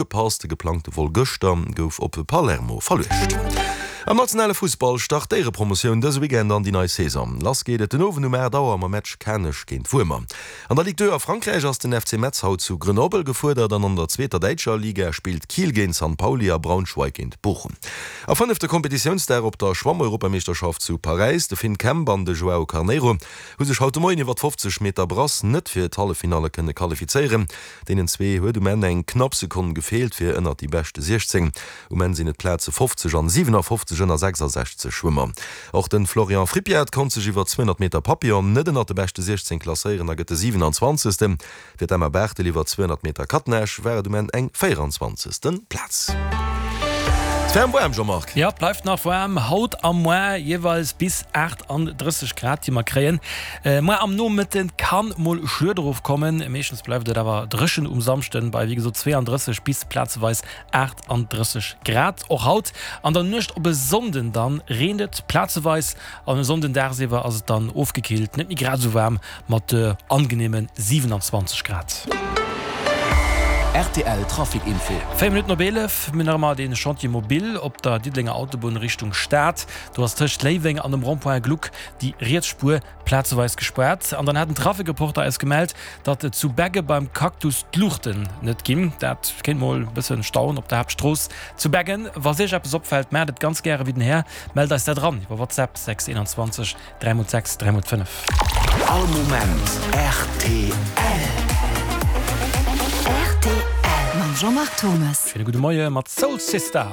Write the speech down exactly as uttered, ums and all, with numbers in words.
Ugepasst. De geplangte Vol gëschter gouf op Palermo verluecht. Am nationale Fussball start d'Éierepromotioun dëse Weekend an déi nei Saison. Lass geet et den Owend um aacht Auer mam Match Kanech géint Wuermer. An der Ligue deux a Frankräich ass den F C Metz haut zu Grenoble gefuerdert an an der zweeter däitscher Liga spillt Kiel géint San Pauli a Braunschweig géint Bochum. A fënnefte Kompetitiounsdag op der Schwammeuropameeschterschaft zu Paräis, De Finn Kemp an de Joao Carneiro hu sech haut de Moien iwwer d'fofzeg Meter Brass net fir d'Halleffinalle kënne qualifizéieren. Deenen zwee huet um Enn eng knapp Sekonn gefeelt fir ënnert déi beschte siechzéng. Um Enn sinn et d'Plaze fofzeg an siwenafoffzeg ënner sechsasechzeg Schwëmmer. Och de Florian Frippiat konnt sech iwwer zweehonnert Meter Papillon net ënnert de beschte siechzéng klasséieren a gëtt de siwenanzwanzegsten. Fir d'Emma Barthel iwwer zweehonnert Meter Catenage war et um Enn eng véieranzwanzegsten Plaz. Et ferm waarm, Jean-Marc. Jo, et bleift nach waarm haut a moar, jeeweils bis aachtanddrësseg Grad déi mer kréien. Moar am Nomëtte kann mol Schued erofkommen, meeschtens bleift et awer dréchen um Samschden bei wéi gesot zweeandrësseg bis plazeweis aachtanddrësseg Grad. Och haut an der Nuecht op e Sonnden dann reent et plazeweis an e Sonnden dagsiwwer ass et dann ofgekillt, net méi grad esou waarm mat angeneeme siwenanzwanzeg Grad. Rtl Trafic Info. Véier Minutten op eelef, mir hunn nach ëmmer dee Chantier mobile op der Diddelenger Autobunn Richtung Stad. Do ass tëscht Léiweng an dem Rond-point Gluck déi riets Spuer plazeweis gespaart. An dann hat en Trafic-Reporter eis gemellt, datt zu Begge beim Cactus d'Luuchten net ginn. Dat kéint mol e bësse stauen op der Haaptstrooss zu Beggen. Wa iech eppes opfält, maacht et ganz gäre wéi den Här, mellt eis dat eran iwwer WhatsApp sechs einundzwanzeg dräi mol sechs dräi mol fënnef. All Moment rtl. Rtl mam Jean-Marc Thomes. Schéine gudde Moie mat Soul Sister.